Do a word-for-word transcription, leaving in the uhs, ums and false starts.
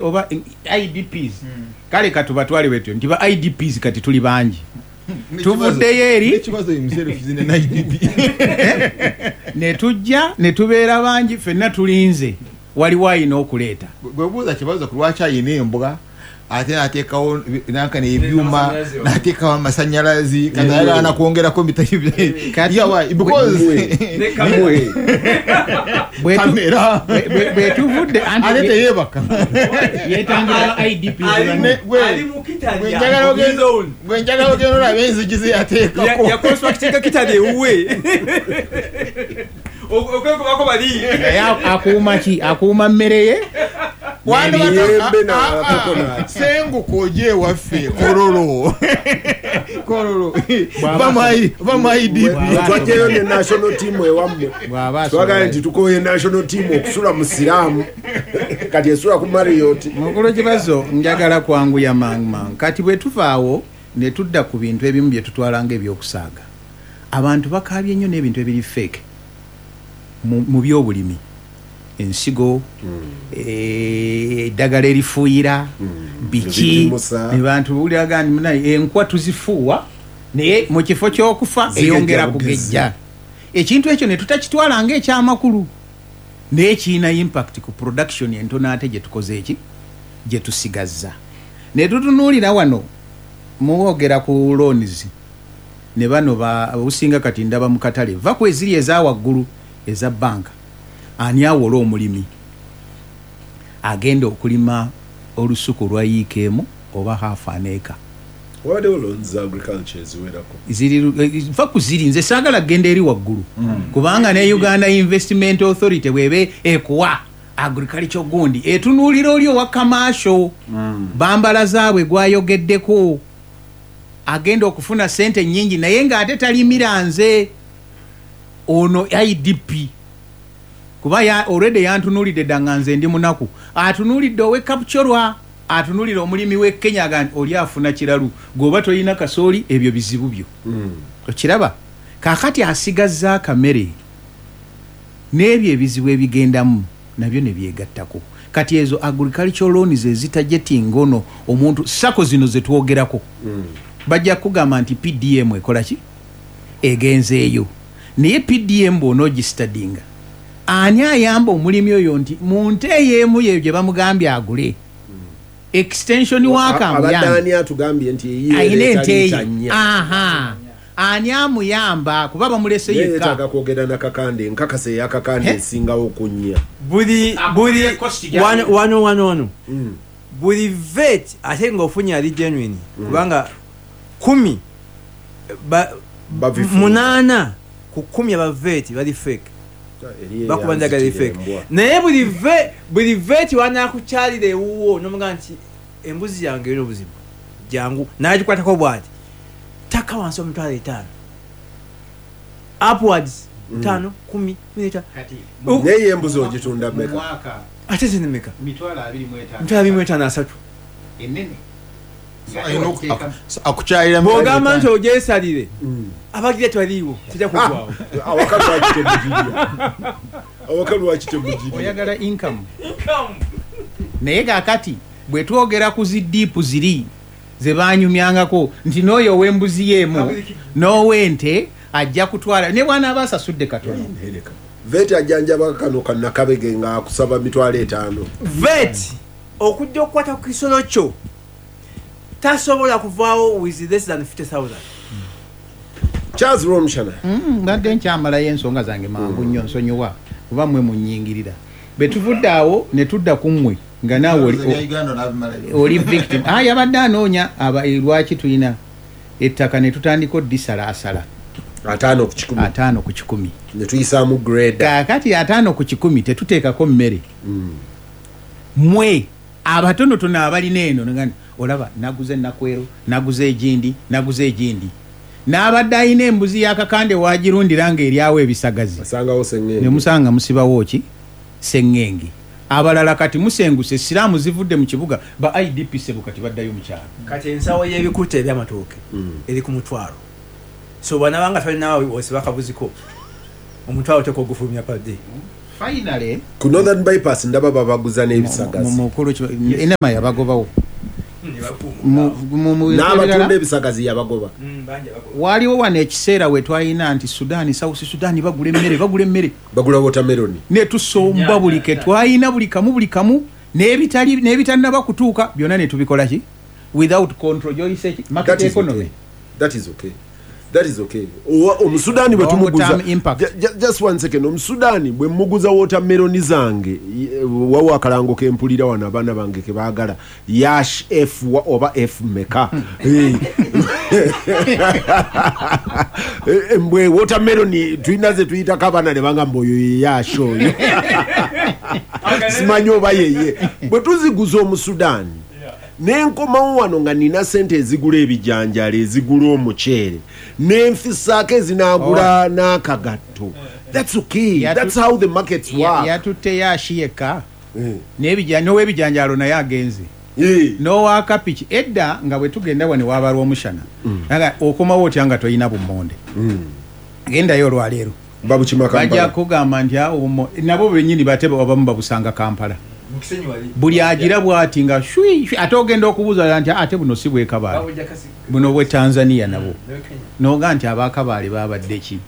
Oba I D Ps, kale katubatwale bwetyo nti ba I D Ps kati tuli bangi, tuvuddeyo eri. N'ekibazo himself is an I D P. Ne tujja ne tubeera bangi, ffenna tulinze waliwo ayina okuleeta. Bwe buuza kibazo ku lwaki ayina embwa, ate nateekawo nankana ebyuma, nateekawo amasanyalazi, kati ayagala nakwongerako Kati- Yeah, why? Because Bwe tu- kamera. bwe- bwe- bwe tuvudde anti Ate teyeebaka. Yetangira ba I D Ps banne. Ne- gwe- Ali mu kitalya. Gwe njagala ogenda- gwe njagala ogenda olaba enzigi ze yateekako. Yaconstructinga kitalya ewuwe okwekubako bali. Naye akuuma ki? Akuuma mmere ye. Emiyembe na Ah, ah, coconut. Senguka ojje ewaffe Kololo, Kololo. Bw'aba va mu I D P. Bw'aba- Twajjayo ne national team ewammwe. Bw'aba Twagala asobola. nti tukoye national team okusula mu slum, kati esula ku Marriott. Mukulu Kibazo, njagala kwanguya mangu mangu. Kati bwe tuvaawo ne tudda ku bintu ebimu bye tutwala ng'ebyokusaaga, abantu bakaabye nnyo n'ebintu ebiri fake mu mu byobulimi, ensigo, eh, eddagala erifuuyira, biki. Ebigimusa. Abantu buwuliraga nti munaye enkwa tuzifuuwa, naye mu kifo ky'okufa Zigejja eyongera bugezi. Kugejja ekintu ekyo ne tutakitwala ng'ekyamakulu, naye kirina impact ku production entono ate gye tukoze eki gye tusigazza. Ne tutunuulira wano muwogera ku loans ne bano ba businga. Kati ndaba mu katale, va ku eziri eza waggulu eza banka, ani awola omulimi agenda okulima olusuku lwa yiika emu oba half an acre? Wabaddewo loans za agriculture eziwerako. Ziri eh, va ku ziri, nze saagala kugenda eri waggulu, kubanga ne Uganda Investment Authority bwebe ekuwa agriculture gundi, etunuulira oli owa commercial bambala zaabwe gwayogeddeko agenda okufuna sente nyingi, naye ng'ate talimira nze ono I D P, kuba ya already yantunuulidde dda nga nze ndi munaku. Atunuulidde ow'e Kapchorwa, atunuulira omulimi w'e Kenya, aga nti oli afuna kiralu, gweoba tolina kasooli, ebyo bizibu byo. Okiraba kaakati asigazza akamere n'ebyo ebizibu ebigendamu nabyo ne byegattako. Kati ezo agricultural loans ezitargetinga ono omuntu, SACCO zino zetwogerako, bajja kugamba nti P D M ekola ki, egenzeeyo. Naye P D M bw'onoogistudyinga, ani ayamba omulimi oyo nti mu nte eyeemu yeyo gye bamugambye agule, extension worker Abadde amuyambe? ani atugambye nti eyiye Ayina ereeta ente liita ye. Nnya? Aha, ani amuyamba kuba bamulese Naye yekka? yeetaaga kwogera nakakande, nkakasa eyakakande He? esingawo ku nnya. Buli buli Cost gyali. wano wano wano wano buli vet ate ng'ofunye ali genuine, kubanga kumi ba- Babifuuza. Munaana ku kumi aba vet bali fake. Eri Bakuba njagala eyanzitira fake. embwa. Naye buli ve buli vet wanakukyalira ewuwo nomugamba nti embuzi yange erina obuzibu, jangu, nagikwatako bwati, taka wansi omitwalo etaano upwards, ttaano, kumi, kumi n'etaano. Kati Naye embuzi ogitunda mmeka? Mwaka Ate zinemeka? Mitwalo abiri mu etaano. Mitwalo abiri mu etaano, asatu. Enene. Alina oku- akukyalira. Bw'ogamba nti ogyesalire, abagira tewaliiwo, tejja kugwawo. Awaka lwaki temugirya? Awaka lwaki temugirya? Oyagala income. Naye kakati bwe twogera ku zi D I P ziri ze banyumyangako nti n'oyo ow'embuzi yeemu n'ow'ente ajja kutwala ne bw'anaaba asasudde katono. Ereka. Vet ajjanjaba kano kannakabege ng'akusaba mitwalo etaano. Vet okujja okukwata ku kisolo kyo tasobola kuvaawo with less than fifty thousand. Charles Romshana. Mm, mbadde nkyamalayo ensonga zange mangu nnyo, nsonyiwa kuba mmwe munyingirira. Bwe tuvudde awo ne tudda ku mmwe nga naawe oli- Uganda n'abimalayo. Oli victim. Ah, yabadde anoonya aba eh, lwaki tulina ettaka ne tutandika oddisalaasala. Ataano ku kikumi. Ataano ku kikumi. Ne tuyisaamu grader. Kaakati ataano ku kikumi tetuteekako mmere. Mwe abatonotono abalina eno nga olaba naguze enakwero, naguze egindi, naguze egindi, n'abadde alina embuzi yakakande wagirundira ng'eryawo ebisagazi, asangawo seŋŋenge. Ne musanga musibawo ki seŋŋenge. Abalala kati musenguse, slum zivudde mu kibuga, ba I D P sebo kati baddayo mu kyalo. Kati ensawo y'ebikuta eby'amatooke eri ku mutwalo, so bwanabanga tolinawo osiba akabuziko, omutwalo teka ogufulumya padde. Finally Ku Northern Bypass ndaba babaguza n'ebisagazi. Mukulu enema yabagobawo. Mu- mu- mu- N'abatunda ebisagazi yabagoba. Waliwo wano ekiseera we twalina nti Sudan, South Sudan bagula emmere, bagula emmere, bagula watermelon, ne tusomba buli ke twalina, buli kamu, buli kamu, n'ebitali n'ebitannaba kutuuka byonna ne tubikola ki without control, gyoyise ki, market That is economy. okay. That is okay, that is okay. Owa- omusudaani bwe Long tumuguza term impact. Ju- ju- just one second, omusudaani bwe muguza watermelon zange, ye- wawo akalango kempulira wano abaana bange kebaagala yash f wa- oba f meka. Eh. Eh, mbwe watermelon tulina ze tuyitako abaana ne bagamba oyo ye yash oyo, simanyi oba yeye. Bwe tuziguza omusudaani nenkomawo wano nga nina sente ezigula ebijanjalo, ezigula omuceere, nenfisaako ezinagula n'akagatto, that's okay. Yatu- That's how the markets Ya- work. Yatutte yashi yekka, Eh. n'ebija- n'owebijanjalo naye agenze, Eh. n'owakapiki. Edda nga bwe tugenda wano wabalwa omushana, nga okomawo otya nga toyina bummonde? Gendayo olwaleero, babukima bajja Kampala. kugamba nti awo bummo- nabo bennyini bate abamu babusanga Kampala. Buli agira bwati nga shwi shwi, ate ogenda okubuuza nti ate buno si bwekabaale, buno bwe Tanzania, nabo noga nti abakabaale babadde ki.